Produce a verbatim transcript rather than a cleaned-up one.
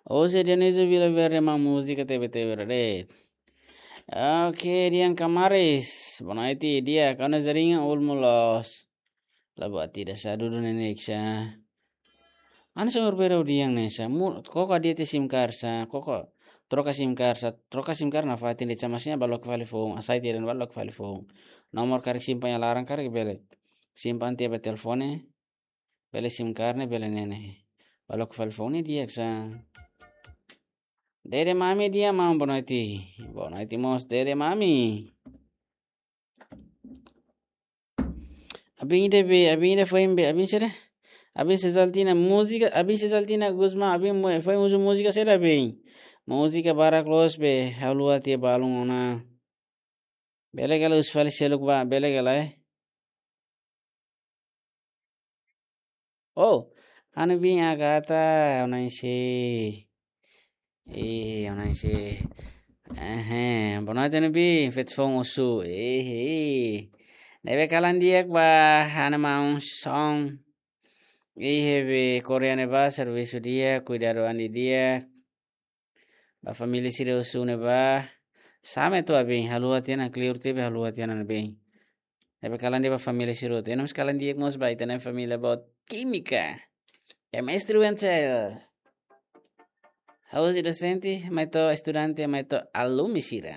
José Dionísio Vila Verde, maun múzika tebe tebe rade. Oke, Dian Kamaris. Boa noite, Dian. Kau na jaringan ulmu los. Labu ati da sa dudu nenek sa. Ana sa berbeda Dian ne sa. Mu, koko dia te SIM card sa. Koko troka SIM card sa. Troka SIM card na fatin de sa, maksudnya ba loke fali foun. Asai tiran ba loke fali foun. Nomor karik simpan iha laran karik bele. Simpan tiha ba telefone. Bele SIM card ne'e bele ne'e ne'e. Ba loke fali foun ne'e di'ak sa. Dede Mami Dian maun, boa noite. Boa noite mós Dede Mami. Abin ida be, abin ida foin be, abin sira. Abin Sesaltina múzika, abin Sesaltina Gusmão, abin mu-, foin uza múzika sira be. Múzika barak loos be, haluha tiha balun ona. Bele ka lae uza fali seluk ba, bele ka lae, eh? Oh, ha'u-nia biin Agatha, ona isi. Eh, ona isi. Eh, boa noite, ha'u-nia biin, feto foun husu. Eh, eh. Ne'ebé kalan di'ak ba, ha'u-nia maun Son. Eh, be Korea ne'ebá, servisu di'ak, kuidadu an di'ak. Ba família sira husu ne'ebá. Same tu abin, haluha tiha ona, kleur tiha be haluha tiha ona be. Ne'ebé kalan di'ak ba família sira hotu. Ema sira kalan di'ak mós ba ita-nia família boot kímika. É mestre Wenzel. Ha'u sei dosente, mai to'o estudante, mai to'o alumni sira.